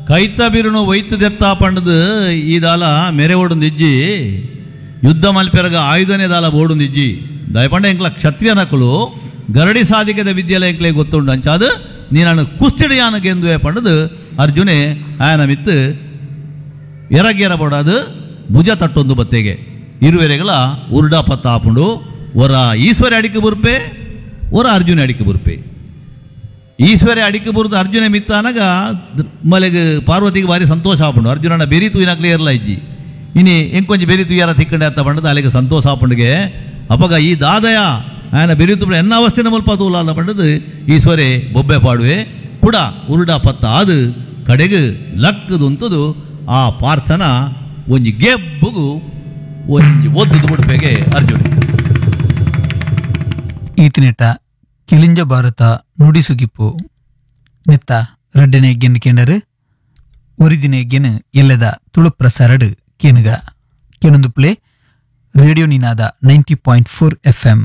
ಕೈತ ಬಿರುನು ಒಯ್ತದೆತ್ತ ಪಂಡದು ಈ ದಾಲ ಮೆರೆ ಓಡುಂದಿಜ್ಜಿ, ಯುದ್ಧ ಮಲ್ಪೆರಗ ಆಯುಧನೇ ದಾಲ ಬೋಡುಂದಿಜ್ಜಿ. ದಯಪಂಡ ಎಂಕ್ಲ ಕ್ಷತ್ರಿಯನಕುಲು ಗರಡಿ ಸಾಧಿಕದ ವಿದ್ಯೆಲ ಎಂಕ್ಲೆ ಗೊತ್ತುಂಡು, ಅಂಚಾದು ನೀನನ್ನು ಕುಸ್ತಿಡಿಯಾನ ಗೆಂದುವೆ ಪಂಡದು ಅರ್ಜುನೆ ಆಯನ ಮಿತ್ತು ಎರಗೆರ ಬೋಡಾದು ಭುಜ ತಟ್ಟೊಂದು ಬತ್ತೆಗೆ. ಇರುವೆರೆಗಳ ಉರುಡ ಪತ್ತ ಆಪುಂಡು. ಒರ ಈಶ್ವರ ಅಡಿಕೆ ಬುರ್ಪೆ, ಒರ ಅರ್ಜುನ ಅಡಿಕೆ ಬುರ್ಪೆ. ಈಶ್ವರ ಅಡಿಕೆ ಬುರ್ದು ಅರ್ಜುನ ಮಿತ್ತಾನಗ ಮಲೆಗ್ ಪಾರ್ವತಿಗೆ ಭಾರಿ ಸಂತೋಷ ಆಪುಂಡು. ಅರ್ಜುನನ ಬೆರಿ ತೂಯಿನಕ್ಲೆ ಏರ್ಲ ಇಜ್ಜಿ, ಇನಿ ಎಂಕೊಂಜಿ ಬೆರಿ ತುಯ್ಯಾರ ತಿಕ್ಕಂಡೆ ಅತ್ತ ಪಂಡದು ಅಲೆಗೆ ಸಂತೋಷ ಆಪುಂಡಿಗೆ. ಅಪಗ ಈ ದಾದಯ ಆಯನ ಬೆರಿ ತುಪ್ಪ ಎನ್ನ ಅವಸ್ಥೆನ ಮುಲ್ಪ ತೂಲಾದ ಪಂಡದು ಈಶ್ವರೇ ಬೊಬ್ಬೆ ಪಾಡುವೆ. ಕುಡ ಉರುಡ ಪತ್ತ ಆದು ಕಡೆಗೆ ಲಕ್ಕದುಂತದು ಆ ಪಾರ್ಥನ ಒಂಜಿ ಗೆಬ್ಬುಗು ಒಂಜಿ ಒದ್ದುದು ಬಿಡ್ಪೆಗೆ ಅರ್ಜುನ. ಈತನೇಟ ಕಿಲಿಂಜ ಭಾರತ ನುಡಿಸುಗಿಪ್ಪು ನೆತ್ತ ರಡ್ಡನೆ ಗೆನ್ ಕೇಂಡರು ಒರಿದಿನ ಗೆನ್ ಎಲ್ಲದ Tulu ಪ್ರಸಾರಡು ಕೇನುಗ ಕೇನೊಂದು play radio Ninada 90.4 F M.